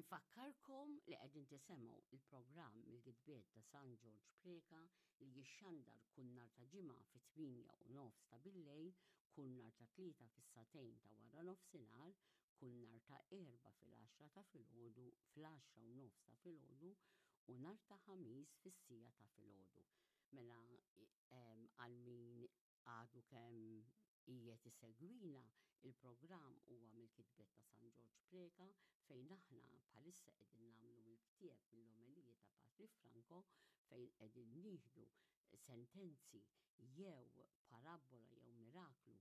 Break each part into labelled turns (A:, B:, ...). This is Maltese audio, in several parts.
A: Infakkarkom li qegħdin tisemgħu il-programm mill-Gidbiet ta' San Ġorġ Preca li jixxandar kull nhar ta' Ġimgħa fit-8 u nofs ta' billejl, kull nhar ta' Tlieta fis-sagħtejn ta' wara nofsinhar, kull nhar ta' Erbgħa fil-għaxra ta' filgħodu, fl-għaxra u nofs ta' filgħodu u nhar ta' Ħamis fis-siegħa ta' filgħodu. Mela għal min għadu kemm qiegħed isegwina, il-programm huwa mill-kitbiet ta' San Ġorġ Preca fejn aħna bħalissa qegħdin nagħmlu mill-ktieb mill-omeliji ta' Patri Franco fejn qegħdin nieħdu sentenzi jew parabbola jew miraklu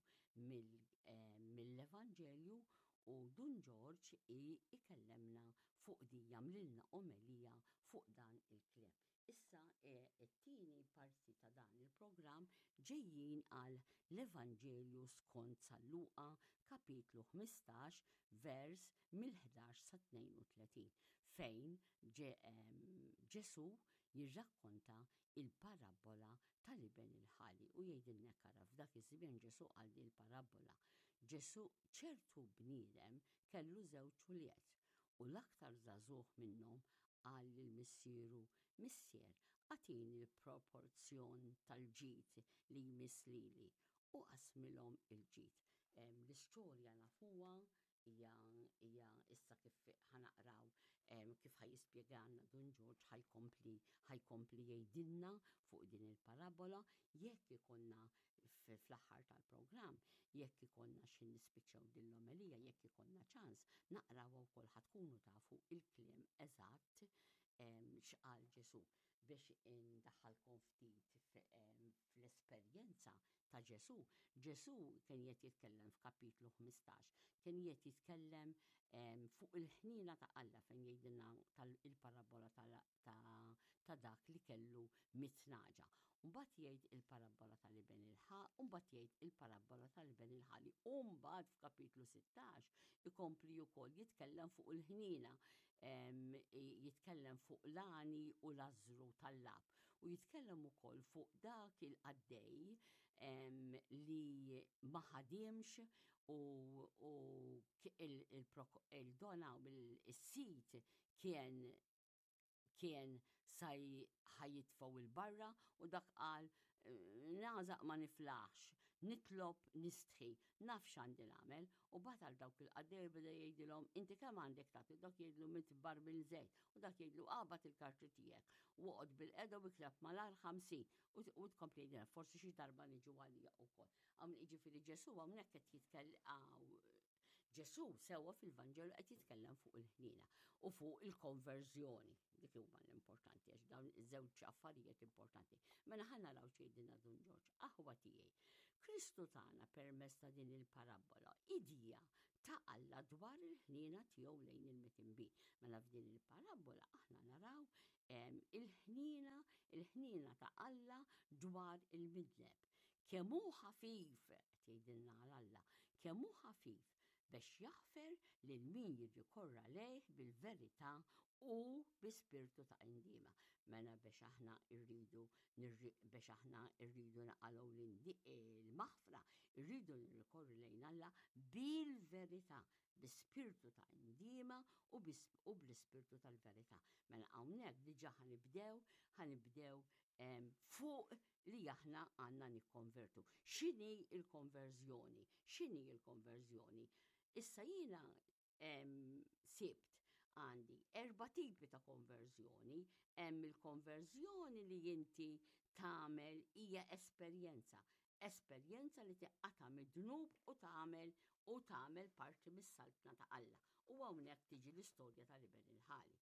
A: mill-Evanġelju u Dun Ġorġ ikellemna fuq di jagħmlilna omelija fuq dan il-kliem. Issa t-tieni parti ta' dan il-programm ġejjin għal l-Evanġelju skont San Luqa kapitlu 15 vers mill-11 sa 32 fejn Ġesù jirrakkonta il-parabbola tal-iben il-ħali u jgħidilna kara f'dak iż-żmien Ġesù qal din il-parabbola. Ġesù ċertu bniedem kellu żewġ ulied u l-aktar żagħżugħ minnhom qal lil missieru, Missier, agħtini l-proporzjon tal-ġid li jmiss lili. U qasmilhom il-ġid. L-istorja nafuha, hija hija issa kif ħa naqraw kif ħa jispjegalna Dun Ġorġ ħa jkompli ħa jkompli jgħidilna fuq din il-parabola jekk ikollna fl-aħħar tal-programm, jekk ikollna xi nispiċċaw din l-omelija, jekk ikollna ċans, naqrawha wkoll ħa tkunu tafu il-kliem eżatt x'qal Ġesù biex indaħħalkom ftit fl-esperjenza ta' Ġesù. Ġesù kien qed jitkellem f'kapitlu 15, kien qed jitkellem fuq il-ħniena ta' Alla fejn jgħidilna il-parabola ta' dak li kellu mitnaġa. Mbagħad jgħid il-parabbola tal-iben il-ħa, mbagħad jgħid il-parabbola tal-iben il-ħali. U mbagħad f'kapitlu 16 ikompli wkoll jitkellem fuq il-ħniena, jitkellem fuq l-għani u l-ażru tal-lab. U jitkellem ukoll fuq dak il-qaddej li ma ħadimx u il-dona u il-sit kien kien sa ħajitfgħu il-barra u dak qal nagħżaq ma niflaħx, nitlob nistħi, naf x'għandi nagħmel u bagħat għal dawk il-qaddej beda jgħidilhom inti kemm għandek tagħti dak jgħidlu mitt barmil żejt u dak jgħidlu qabad il-karti tiegħek u oqgħod bil-qeda u ikteb malar 50 u tkompli jgħidilha forsi xi darba niġu għalija wkoll. Hawn jiġifieri Ġesù hawnhekk qed jitkellem Ġesù sewwa fil-Vanġelu qed jitkellem fuq il-ħniena u fuq il-konverżjoni. Dik huma l-importanti għax dawn iż-żewġ affarijiet importanti. Mela ħa naraw x'jgħidilna Dun Ġorġ, aħwa tiegħi. Kristu tagħna permezz ta' din il-parabbola idea ta' Alla dwar il-ħniena tiegħu lejn il-mitinbin. Mela f'din il-parabbola aħna naraw il-ħniena, il-ħniena ta' Alla dwar il-midneb. Kemm hu ħafif, qed jgħidilna għal Alla, kemm hu ħafif biex jaħfer lil min jirrikorra lejh bil-verità u bi spirtu ta' indiema. Mela biex aħna rridu biex aħna rridu naqalgħu l-maħfra, rridu nirrikorru lejn Alla bil-verità, bi spirtu ta' indiema u bl-ispirtu tal-verità. Mela hawnhekk diġà ħanibdew, ħanibdew fuq li aħna għandna nikkonvertu. X'inhi l-konverżjoni? X'inhi l-konverżjoni? Issa jiena sibt għandi erba' tipi ta' konverżjoni. Hemm il-konverżjoni li inti tagħmel hija esperjenza. Esperjenza li tiqqata' mid-dnub u tagħmel u tagħmel parti mis-saltna ta' Alla. U hawnhekk tiġi l-istorja tal-iben il-ħali.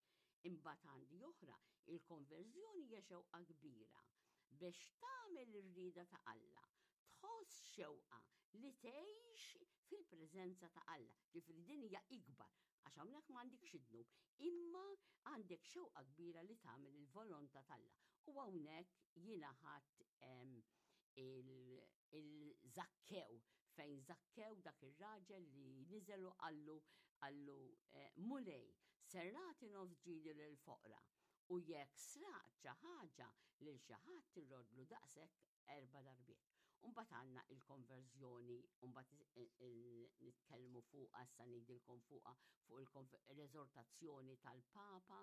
A: Imbagħad għandi oħra, il-konverżjoni hija xewqa kbira biex tagħmel ir-rieda ta' Alla, tħoss xewqa li tgħix fil-preżenza ta' Alla. Ġifieri din hija ikbar, għax hawnhekk m'għandikx id-dnub, imma għandek xewqa kbira li tagħmel il-volontà t'Alla. U hawnhekk jiena ħadt il-Zakkew, fejn Zakkew dak ir-raġel li niżel u qallu qallu eh, Mulej, ser nagħti nofs ġidi lill-foqra u jekk sraqt xi ħaġa lil xi ħadd irrodlu daqshekk erba' darbiet. Umbagħad għandna il-konverżjoni, umbagħad nitkellmu fuqha, issa ngħidilkom fuqha fuq il l-eżortazzjoni tal-Papa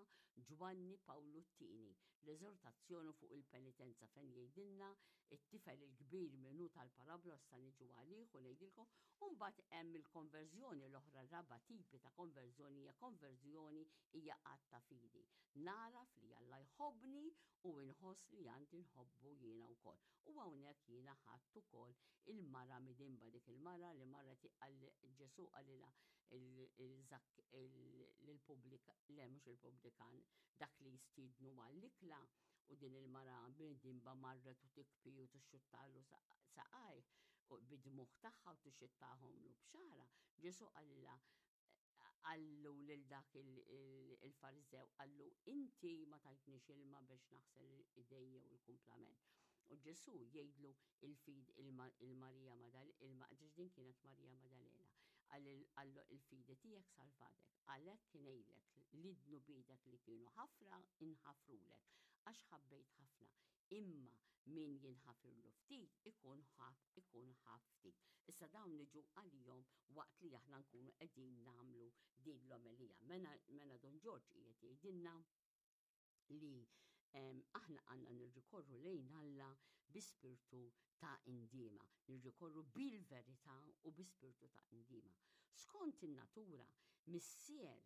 A: Ġwanni Pawlu t-Tieni, l-eżortazzjoni fuq il-penitenza fejn jgħidilna it-tifel il-kbir min hu tal-parabla issa niġu għalih u ngħidilkom, u mbagħad hemm il-konverżjoni l-oħra raba' tipi ta' konverżjoni hija konverżjoni hija att ta' fidi. Nagħraf li Alla jħobbni u inħoss li għandi nħobbu jiena wkoll. U hawnhekk jiena ħadt ukoll il-mara midinba, dik il-mara li marret Ġesù qalilha lill-pubblikan, le mhux il-pubblikan, dak li jistiednu għall-ikla, u din il-mara midinba marret u tikbi u tixxuttalu saqajh u bid-dmugħ tagħha u tixxittahomlu b'xagħarha. Ġesù qalilha qallu lil dak il-Fariżew, qallu inti ma tajtnix ilma biex naħsel idejja u l-kumplament. U Ġesù jgħidlu il-fid il-Marija Madalena, din kienet Marija Madalena, qallu il-fidi tiegħek salvatek, għalhekk ngħidlek li dnubitek li kienu ħafra inħafrulek, għax ħabbejt ħafna. Imma min jinħafirlu ftit ikun ħab ikun ħab ftit. Issa dawn niġu għalihom waqt li aħna nkunu qegħdin nagħmlu din l-omelija. Mela, mela Dun Ġorġ qiegħed jgħidilna li aħna għandna nirrikorru lejn Alla bi spirtu ta' indiema, nirrikorru bil-verità u bi spirtu ta' indiema. Skont in-natura, missier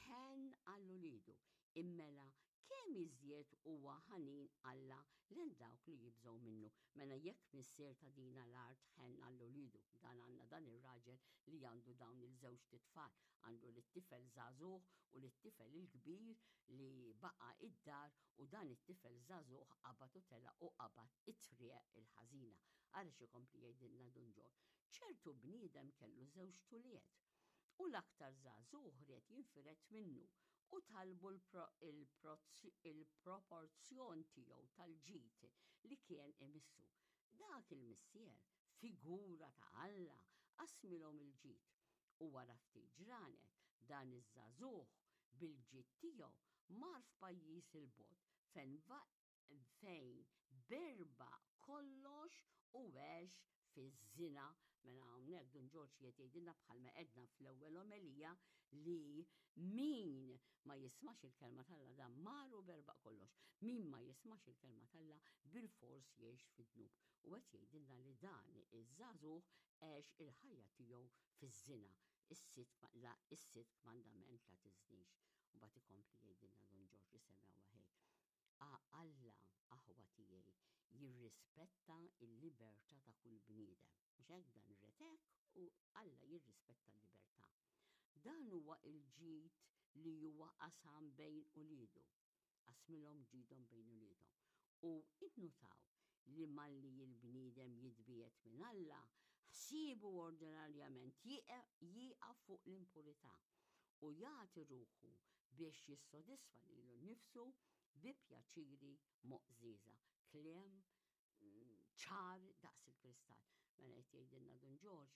A: ħen għal ulidu, immela kemm iżjed huwa ħanin Alla lil dawk li jibżgħu minnu. Mela jekk missier ta' dina l-art ħenn għal uliedu, dan għandna dan ir-raġel li għandu dawn il-żewġt itfal, għandu lit-tifel żagħżugħ u lit-tifel il-kbir li baqa' id-dar u dan it-tifel żagħżugħ qabad u telaq u qabad it-triq il-ħażina. Ara x'ikompli jgħidilna Dun Ġorġ. Ċertu bniedem kellu żewġt ulied u l-aktar żagħżugħ ried jinfired minnu u talbu l-proporzjon tiegħu tal-ġid li kien imissu. Dak il-missier, figura ta' Alla, qasmilhom il-ġid. U wara ftit ġranet, dan iż-żagħżugħ bil-ġid tiegħu mar f'pajjiż 'il bogħod fejn fejn berbaq kollox u għex fiż-żina. Mela hawnhekk Dun Ġorġ qiegħed jgħidilna bħalma għedna fl-ewwel omelija li min ma jismax il-kelma t'Alla dan mar u berbaq kollox. Min ma jismax il-kelma t'Alla bilfors jgħix fid-dnub. U qed jgħidilna li dan iż-żagħżugħ għex il-ħajja tiegħu fiż-żina, is-sitt kmandament la tiżnix. U mbagħad ikompli jgħidilna Dun Ġorġ isemgħu ħej. A Alla, aħwa tiegħi, jirrispetta l-libertà ta' kull bniedem. Mhux hekk dan ried hekk u Alla jirrispetta l-libertà. Dan huwa l-ġid li huwa qasam bejn uliedu. Qasmilhom ġidhom bejn uliedhom. U innutaw li malli l-bniedem jitbiegħed minn Alla, ħsiebu ordinarjament jieqaf fuq l-impurità u jagħti ruħu biex jissodisfa lilu nnifsu bi pjaċiri moqżieża. Kliem ċar daqs il-kristall. Mela qed jgħidilna Dun Ġorġ,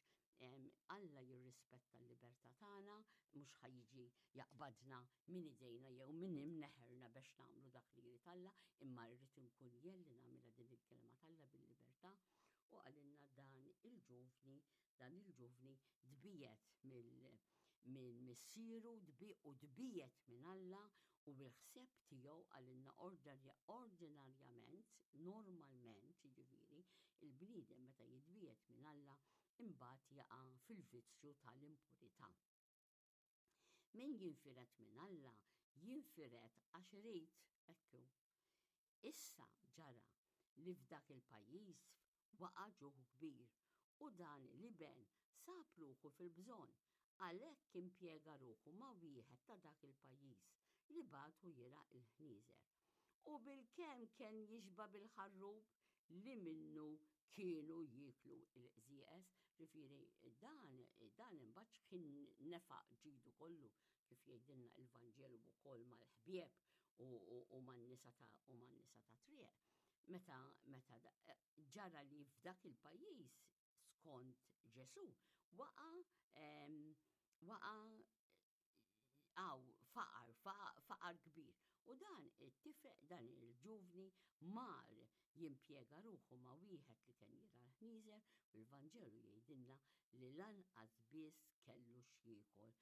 A: Alla jirrispetta l-libertà tagħna, mhux ħa jiġi jaqbadna minn idejna jew minn imneħerna biex nagħmlu dak li jrid Alla, imma rrid inkun jien li nagħmilha din il-kelma t'Alla bil-libertà. U qalilna dan il-ġuvni, dan il-ġuvni tbiegħed minn missieru u tbiegħed minn Alla u bil-ħsieb tiegħu qalilna ordinarjament, normalment, jiġifieri, il-bniedem meta jitbiegħed minn Alla imbagħad jaqa' fil-vizzju tal-impurità. Min jinfired minn Alla jinfired għax irid, hekk hu. Issa ġara li f'dak il-pajjiż waqa' ġuħ kbir u dan l-iben sab ruħu fil-bżonn, għalhekk impjega ruħu ma' wieħed ta' dak il-pajjiż, li bagħtu jirgħa l-ħnieżer. U bilkemm kien jixba' bil-ħarrub li minnu kienu jieklu l-qżieqeż, ġifieri dan dan imbagħad x'kien nefaq ġidu kollu, kif jgħidilna l-Vanġelu wkoll mal-ħbieb u man-nisa ta' u man-nisa tat-triq. Meta meta ġara li f'dak il-pajjiż skont Ġesù waqa' waqa' għaw faqar, faqar kbir. U dan it-tifel, dan il-ġuvni mar jimpjega ruħu ma' wieħed li kien jirgħa l-ħnieżer u l-Vanġelu jgħidilna li lanqas biss kellu x'jiekol.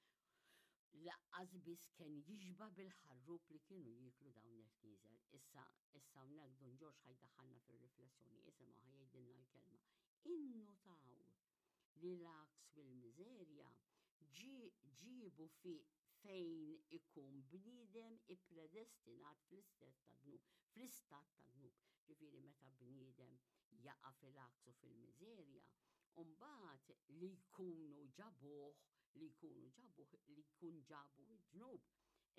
A: Laqqas biss kien jixba' bil-ħarrub li kienu jieklu dawn il-ħnieżer. Issa, issa hawnhekk Dun Ġorġ ħa jdaħħalna fir-riflessjoni, isimgħu ħa jgħidilna l-kelma. Innutaw li l-għaks u l-miżerja ġiebu fi fejn ikun bniedem ippredestinat fl-istat ta' dnub, fl-istat ta' dnub. Ġifieri meta bniedem jaqa' fil-għaks u fil-miżerja, u mbagħad li jkunu ġabuh, li jkunu ġabuh, li jkun ġabu d-dnub,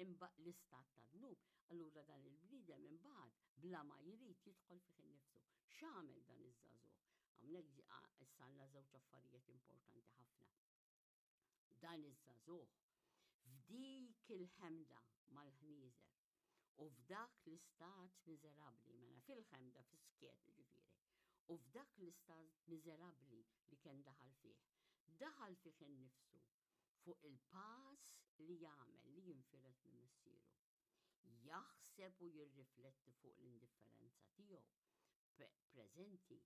A: imba l-istat ta' dnub, allura dan il-bniedem imbagħad bla ma jrid jidħol fih innifsu. X'għamel dan iż-żagħżugħ? Hawnhekk issa għandna żewġ affarijiet importanti ħafna. Dan iż-żagħżugħ f'dik il-ħemda mal-ħnieżer u f'dak l-istat miżerabbli, mela fil-ħemda fis-skiet jiġifieri, u f'dak l-istat miżerabbli li kien daħal fih, daħal fih innifsu fuq il-pass li jagħmel li jinfired minn missieru. Jaħseb u jirrifletti fuq l-indifferenza tiegħu preżenti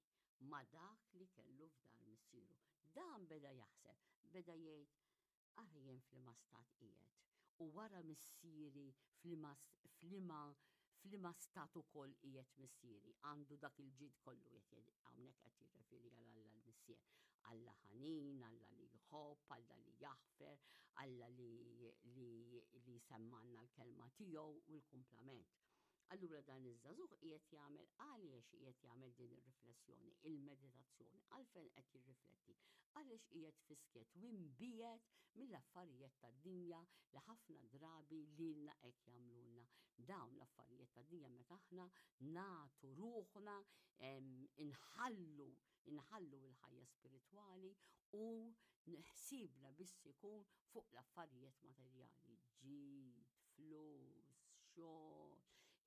A: ma' dak li kellu f'dar missieru. Dan beda jaħseb, beda jgħid, ara jien f'liema stat qiegħed, u wara missieri f'liema f'liema f'liema stat ukoll qiegħed missieri, għandu dak il-ġid kollu qed hawnhekk qed jirreferi għal Alla l-Missier. Alla ħanin, Alla li jħobb, Alla li jaħfer, Alla li li li jsemmanna l-kelma tiegħu u l-kumplament. Allura dan iż-żagħżugħ qiegħed jagħmel għaliex qiegħed jagħmel din ir-riflessjoni, il-meditazzjoni, għalfejn qed jirrifletti, għaliex qiegħed fis-skiet u imbiegħed mill-affarijiet tad-dinja li ħafna drabi lilna hekk jagħmlulna. Dawn l-affarijiet tad-dinja meta aħna nagħtu ruħna inħallu inħallu l-ħajja spiritwali u ħsiebna biss ikun fuq l-affarijiet materjali, ġid, flus, xogħol,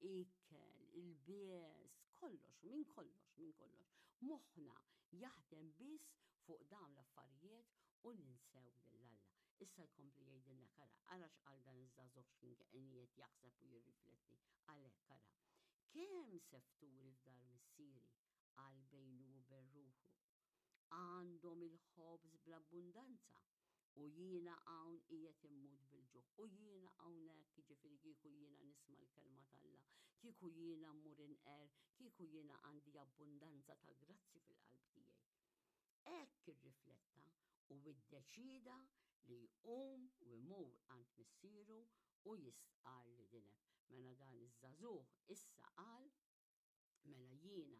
A: ikel, ilbies, kollox, minn kollox, minn kollox. Moħħna jaħdem biss fuq dawn l-affarijiet u ninsew lil Alla. Issa jkompli jgħidilna ara, ara x'qal dan iż-żagħżugħ x'kien qiegħed jaħseb u jirrifletti. Għalhekk ara. Kemm sefturi f'dar missieri qal bejnu u bejn ruħu. Għandhom il-ħobż bl-abbundanza u jiena hawn qiegħed immut bil-ġuħ. U jiena hawnhekk, jiġifieri kieku jiena nisma' l-kelma t'Alla, kieku jiena mmur inqerr, kieku jiena għandi abbundanza ta' grazzi fil-qalb tiegħi. Hekk irrifletta u iddeċieda li jqum u jmur għand missieru u jistqarr li dineb. Mela dan iż-żagħżugħ issa qal, Mela jiena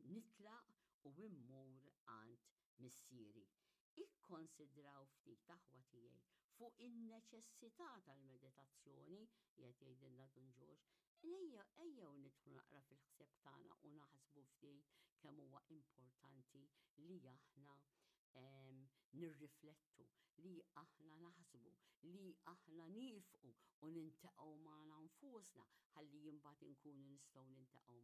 A: nitlaq u immur għand missieri. Ikkonsidraw ftit, aħwa tiegħi, fuq in-neċessità tal-meditazzjoni, qiegħed jgħidilna Dun Ġorġ. Ejja, ejjew nidħlu naqra fil-ħsieb tagħna u naħsbu ftit kemm huwa importanti li aħna nirriflettu, li aħna naħsbu, li aħna niefqu u nintaqgħu magħna nfusna ħalli imbagħad inkunu nistgħu nintaqgħu ma'.